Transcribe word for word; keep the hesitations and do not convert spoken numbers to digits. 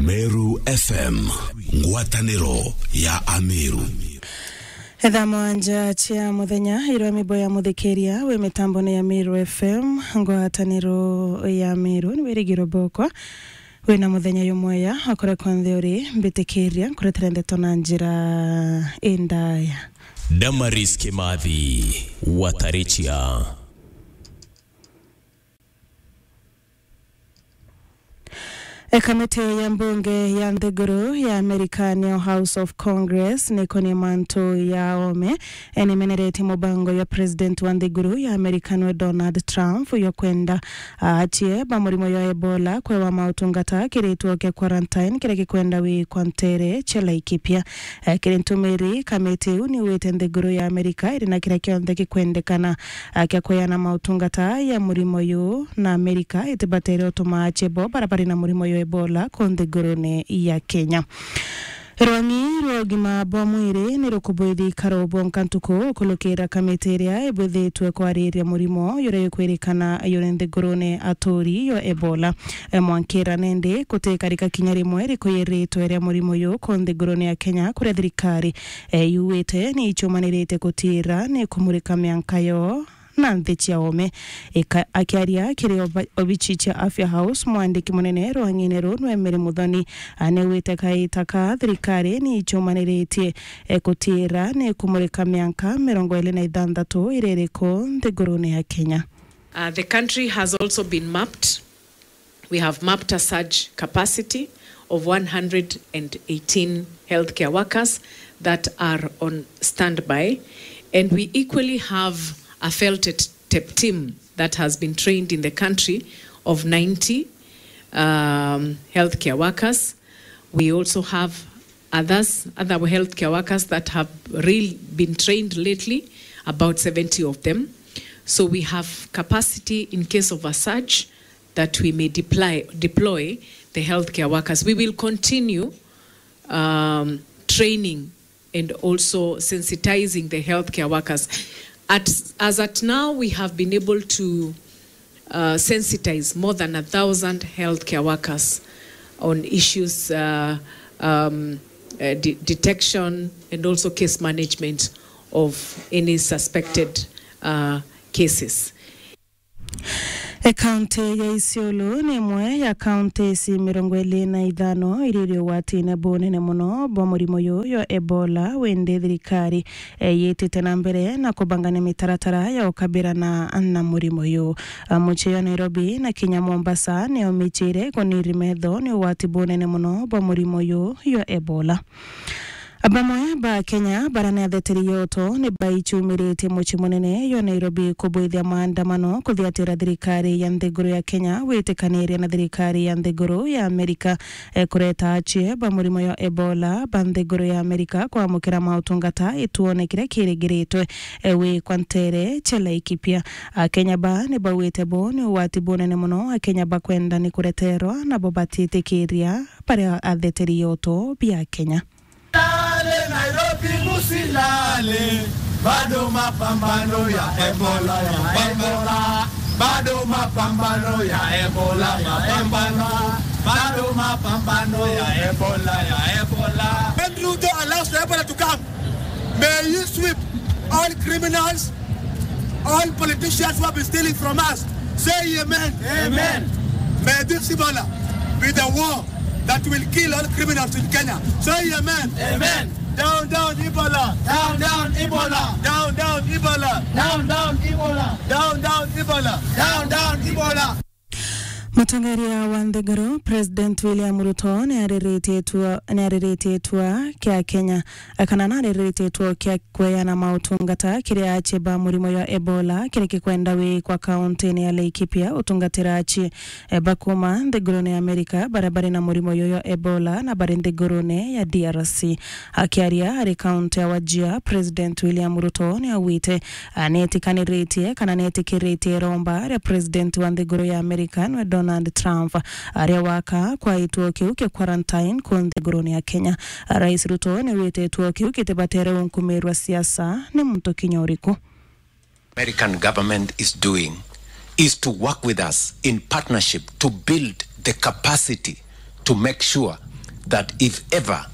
Meru F M, ngwataniro ya Ameru. Etha mwanja cia muthenya, irwa mibo ya muthikiria wi mitambone ya Meru F M, ngwataniro ya Meru, ni wirigiro bokwa. Wina muthenya yumweya, okore kwa nthi uri, mbitikiria nkuretere ndeto na njira indaya. Damaris Kimathi, Watarichia. E, kamiti ya mbunge ya nthiguru ya Amerika, niyo House of Congress, nikonie mantu ya ome, e, nimeneretie mubango ya president wa nthiguru ya Amerika, niwe Donald Trump, yo kwenda, a, achie ba murimo ya Ebola kwewa mautungata kiri gituo kia quarantine kiria gikwenda wikwa ntere cia Laikipia. E, kiri ntumiri, kamiti iu niwite nthiguru ya Amerika iri na kiria kionthe gikwendekana, a, kia kweana mautungata ya murimo uyu, na Amerika itibatere utuma achie bo bara bari na murimo yo Ebola ku nthigurune ya Kenya. Rwang'i rwa ugima bwa mwiri ni rukubuithi ikaro bwonka ntuku kulukira kamiti iria ibwithitwe kwariria murimo uria ukwirikana yuri nthigurune aturi yo Ebola. E, mwankira nindi gutikarika kinya rimwe rikuyiritwe ria murimo uyu ku nthigurune ya Kenya, kuria thirikari, e, yuwite ni icumanirite gutira ni kumurika mianka yo na nthi cia ome. Ika-, akiaria kiri oba-, obichi cia Afya House, mwandiki munene rwang'ine ruu, Emery Muthoni, anewite kaita ka thirikari ni icumaniritie, e, kutira ni kumurika mianka mirongo iri na ithanthatu iria iriku nthigurune ya Kenya. Uh, the country has also been mapped. We have mapped a surge capacity of one hundred and eighteen healthcare workers that are on standby, and we equally have a felted tep team that has been trained in the country of ninety, um, healthcare workers. We also have others, other healthcare workers that have really been trained lately, about seventy of them. So we have capacity in case of a surge that we may deploy, deploy the healthcare workers. We will continue, um, training and also sensitizing the healthcare workers. At, as at now, we have been able to, uh, sensitize more than a thousand healthcare workers on issues, uh, um, uh, de-, detection and also case management of any suspected, uh, cases. E, kaunti ya Isiolo ni imwe ya kaunti ici mirongo iri na ithano iria iri ugwatine bunene muno bwa murimo uyu yo Ebola, windi thirikari, e, yitite na mbere na kubangania mitaratara ya ukabirana na murimo uyu. A, mucii ya Nairobi na kinya Mombasa ni omichire kuniri metho ni ugwati bunene muno bwa murimo uyu yo Ebola. Bamwe ba Kenya bara ni atheteri yoto ni baichumiritie mucii munene yo Nairobi kubwithia maandamano kuthiatira thirikari ya nthiguru ya Kenya witikaniria na thirikari ya nthiguru ya Amerika, e, kureta achie ba murimo yo Ebola ba nthiguru ya Amerika kwamukira mautungata ituone kiria kiringiritwe, e, wikwa ntere cia Laikipia. Akenya ba ni bauite bo ni ugwati bunene muno. Akenya bakwenda ni kureterwa, nabo batitikiria baria atheteri yoto bia Kenya. Lale, Nairobi musilale, bado mapambano ya Ebola, ya Ebola, bado mapambano ya Ebola, ya Ebola, bado mapambano ya Ebola, ya Ebola. When Ruto allows the Ebola to come, may you sweep all criminals, all politicians who have been stealing from us. Say amen. Amen. May this Ebola be the war that will kill all criminals in Kenya. Say amen. Amen. Down, down, Ebola. Down, down, Ebola. Down, down, Ebola. Down, down, Ebola. Down, down, Ebola. Down, down, Ebola. Mutongeria wa nthiguru, President William Ruto, niariritie itua, niariritie itua kia Kenya, kana nariritie itua kia kweana mautungata kiri achie ba murimo ya Ebola, kiri kikwenda wikwa kaunti-ini ya Laikipia, utungatira achie, e, ba kuma nthigurune ya Amerika, baria bari na murimo uyu ya Ebola na bari nthigurune ya D R C. Akiaria ari kaunti ya Wajir, President William Ruto niaugite, a, nietikaniritie kana nietikiritie iromba ria President wa nthiguru ya Amerika, niwe Donald Trump, aria waka kwa gituo kiu kia quarantine ku nthigurune ya Kenya. Rais Ruto niwite gituo kiu gitibatere unkumirwa siasa ni muntu kinya uriku. American government is doing is to work with us in partnership to build the capacity to make sure that if ever